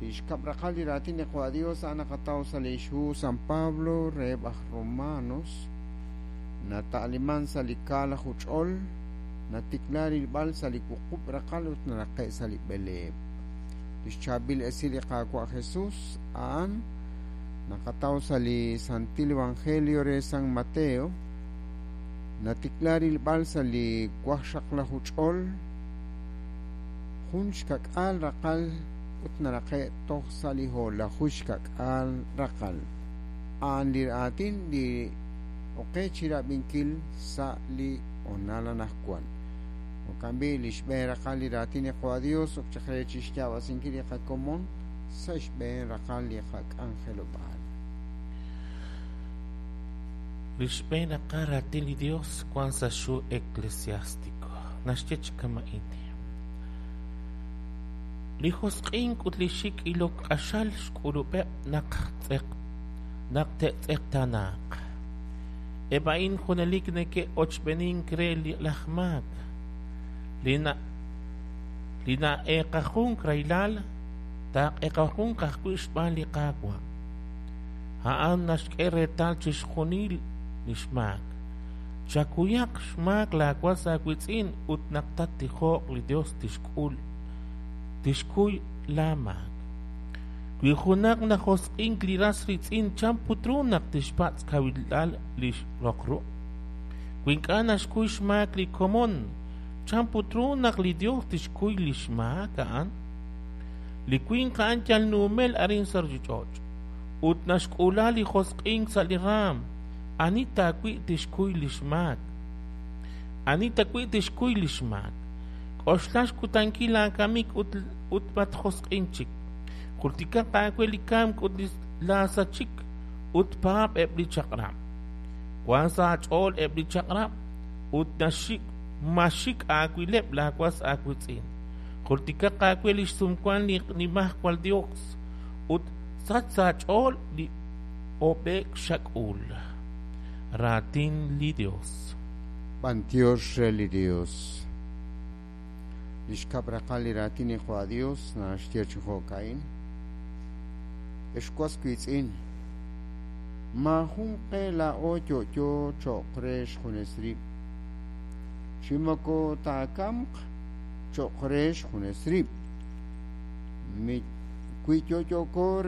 Li xkab' raqal li raatin li Qaawa' Dios a'an naqataw sa' li xhu San Pablo reheb' aj Romanos, nata'liman sa' li kaalaju ch'ol, natikla rilb'al sa' li wuqub' raqal ut naraqe' sa' li b'eleeb'. Lix chaab'il esil li Qaawa' Jesus a'an naqataw sa' li Santil Evangelio re San Mateo, natikla rilb'al sa' li waqxaqlaju ch'ol, jun xka'k'aal raqal ut naraqe' toj sa' li ho'laju xka'k'aal raqal. A'an li raatin li oqe chirab'inkil sa' li honal anaqwan. Jo'kan b'i' li xb'een raqal li raatin li Qaawa' Dios ok chaq re chixyaab'asinkil li qakomon sa' xb'een raqal li qak'anjelob'aal. Li xb'een raqal raatin li Dios wan sa' xhu Eclesiástico. Naxye chi kama'in: Li josq'ink ut li xik' ilok q'axal xk'ulub'eb' naq tz'eq naq te'tz'eqtaanaaq. Eb' a'in junelik neke'ochb'enink re li laj maak, li na li na'eeqajunk rahilal taaq'eqajunk ajwi' xb'aan li Qaawa'. A'an naxk'e reetal chixjunil li xmaak. Chakuyaq xmaak laawas aawiitz'in ut naq tattijoq li Yos tixk'ul tixkuy laamaak. Wi junaq najosq'ink li ras riitz'in, chan put ru naq tixpatz' kawilal li roq ruq'? Wi ink'a' naxkuy xmaak li komon, chan put ru naq li Yos tixkuy li xmaak a'an? Li winq a'an yal numel arin sa' ruuchich'och' ut naxk'uula li josq'ink sa' li raanm. Ani tawi' tixkuy li xmaak? Ani tawi' tixkuy li xmaak? K'oxla xkutankil laakamik ut ut matjosq'in chik. Jultikaq aawe li kamk ut li laasachik ut paab' eb' li chaq'rab'. Wank sa' aach'ool eb' li chaq'rab' ut naxik maxik aawileb' laawas aawiitz'in. Jultikaq aawe li xsumwank li Nimajwal Yos ut sach sa' aach'ool li ob'e'k xak'ul. Raatin li Yos. B'antiox re li Dios. Li xkab' raqal li raatin li Qaawa' Dios naxye chi jo'ka'in: Ex was wiitz'in, maajun qe laa'o yo'yo cho'q re xjunes rib', chi moko taakamq cho'q re xjunes rib'. Wi yo'yooko re